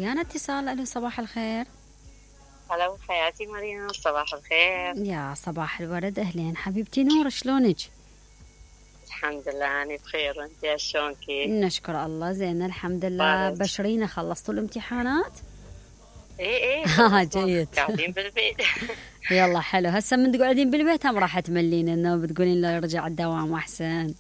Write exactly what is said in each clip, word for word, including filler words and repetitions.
ويانا اتصال. الو صباح الخير. هلا حياتي مريم، صباح الخير. يا صباح الورد، اهلين حبيبتي نور، شلونك؟ الحمد لله انا بخير، وانت شلونكي؟ نشكر الله زين الحمد لله. بارك. بشرينا خلصتوا الامتحانات؟ ايه ايه ها جيد. قاعدين بالبيت. يلا حلو. هسه من تقعدين بالبيت هم راح تملين انه بتقولين له يرجع الدوام احسن؟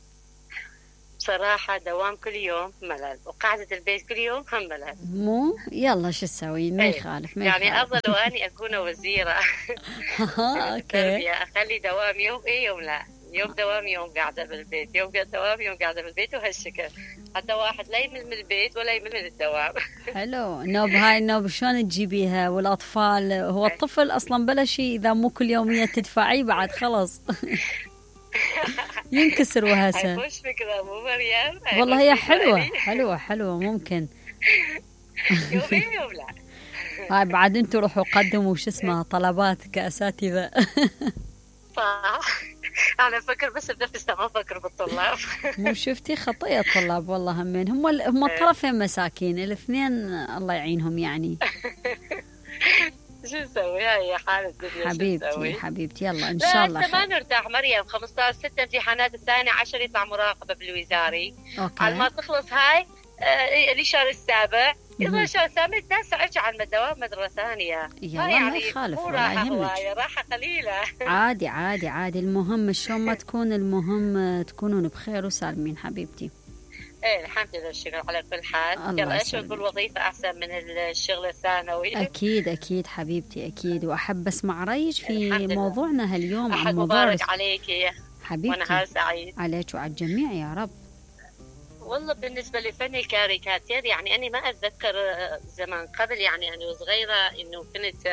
بصراحة دوام كل يوم ملل، وقعدة البيت كل يوم هم ملل. مو يلا شو تسوي؟ ما إيه. يخالف ما يعني يخالف. افضل واني اكون وزيرة. ها اوكي. التربية اخلي دوام يوم ايه يوم لا، يوم دوام يوم قاعدة بالبيت، يوم دوام يوم قاعدة بالبيت، وهالشكل حتى واحد لا يمل من البيت ولا يمل من الدوام. حلو. نوب هاي النوب شلون تجيبيها؟ والاطفال، هو الطفل اصلا بلا شيء اذا مو كل يومية تدفعيه بعد خلص ينكسر وهسه. هاي مش فكرة مو مريم؟ والله هي حلوة حلوة حلوة ممكن. يومين يوم لا. هاي بعد انتوا روحوا قدموا شو اسمه طلبات كأساتذة. صح. أنا أفكر بس بنفسي، ما أفكر بالطلاب. مو شفتي خطية الطلاب والله، همين هم ال... هم الطرفين مساكين الاثنين، الله يعينهم يعني. شو نسوي؟ هاي حال الدنيا. حبيبتي حبيبتي يلا ان شاء الله خير. لا ما خير. نرتاح مريم، خمسة عشر ستة امتحانات، الثاني عشر يطلع مراقبة بالوزاري. اوكي. على ما تخلص هاي آه الشهر السابع يظل الشهر الثامن التاسع ارجع على الدوام مدرسة ثانية. يلا يعني ما يخالف مو ولا راحة يهمك. هواية، راحة قليلة. عادي عادي عادي، المهم شلون ما تكون، المهم تكونون بخير وسالمين حبيبتي. ايه الحمد لله، الشكر على كل حال. الله يلا اشوف يسلمك. بالوظيفة احسن من الشغل الثانوي. اكيد اكيد حبيبتي اكيد. واحب اسمع رايك في الحمد لله. موضوعنا هاليوم عن أحد موضوع مبارك عليك حبيبتي. ونهار سعيد عليك وعلى الجميع يا رب. والله بالنسبة لفن الكاريكاتير، يعني أنا ما أتذكر زمان قبل، يعني أنا صغيرة إنه كنت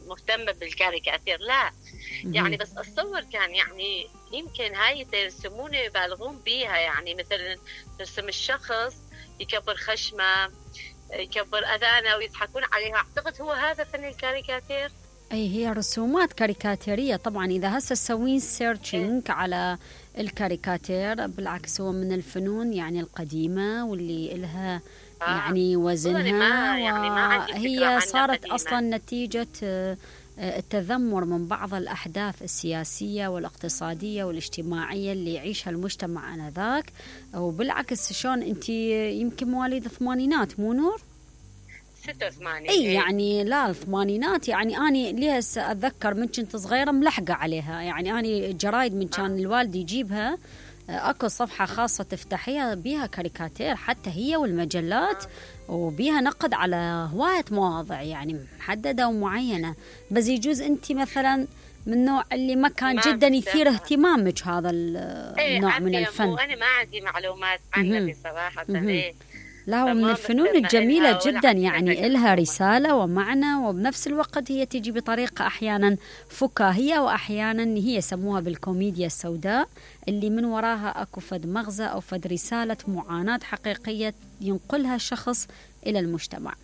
مهتمة بالكاريكاتير، لا يعني بس أتصور كان يعني يمكن هاي يرسمون يبالغون بيها، يعني مثلا ترسم الشخص يكبر خشمه يكبر أذانه ويضحكون عليها، أعتقد هو هذا فن الكاريكاتير. اي هي رسومات كاريكاتيرية طبعا. اذا هسه تسوين سيرشنج على الكاريكاتير، بالعكس هو من الفنون يعني القديمة واللي إلها آه. يعني وزنها، يعني وهي صارت أصلا نتيجة التذمر من بعض الأحداث السياسية والاقتصادية والاجتماعية اللي يعيشها المجتمع آنذاك. وبالعكس شلون أنت يمكن مواليد الثمانينات مو نور؟ ستة وثمانين. اي يعني لا الثمانينات، يعني اني ليس اتذكر من كنت صغيره ملحقه عليها، يعني اني الجرايد من كان الوالد يجيبها اكو صفحه خاصه تفتحيها بيها كاريكاتير حتى هي والمجلات، وبيها نقد على هوايه مواضيع يعني محدده ومعينه. بس يجوز انت مثلا من النوع اللي ما كان ما جدا يثير اهتمامك هذا النوع من الفن. انا ما عندي معلومات عنها بصراحه. ايه لا، ومن الفنون الجميلة جدا، يعني إلها رسالة ومعنى، وبنفس الوقت هي تجي بطريقة أحيانا فكاهية، وأحيانا هي يسموها بالكوميديا السوداء، اللي من وراها أكو فد مغزى أو فد رسالة معاناة حقيقية ينقلها شخص إلى المجتمع.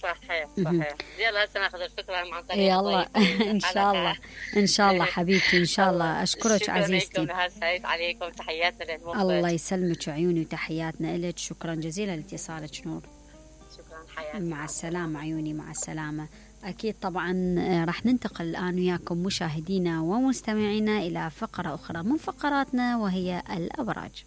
صحيح صحيح. يلا هسه ناخذ الفكرة مع طريق. يلا ان شاء الله ان شاء الله حبيبتي ان شاء الله. اشكرك عزيزتي. شكرا لكم، عليكم تحياتنا للمخرج. الله يسلمك عيوني وتحياتنا لك. شكرا جزيلا لاتصالك نور. شكرا حياتي. مع السلامة عيوني مع السلامة. أكيد طبعا راح ننتقل الآن وياكم مشاهدينا ومستمعينا إلى فقرة أخرى من فقراتنا، وهي الأبراج.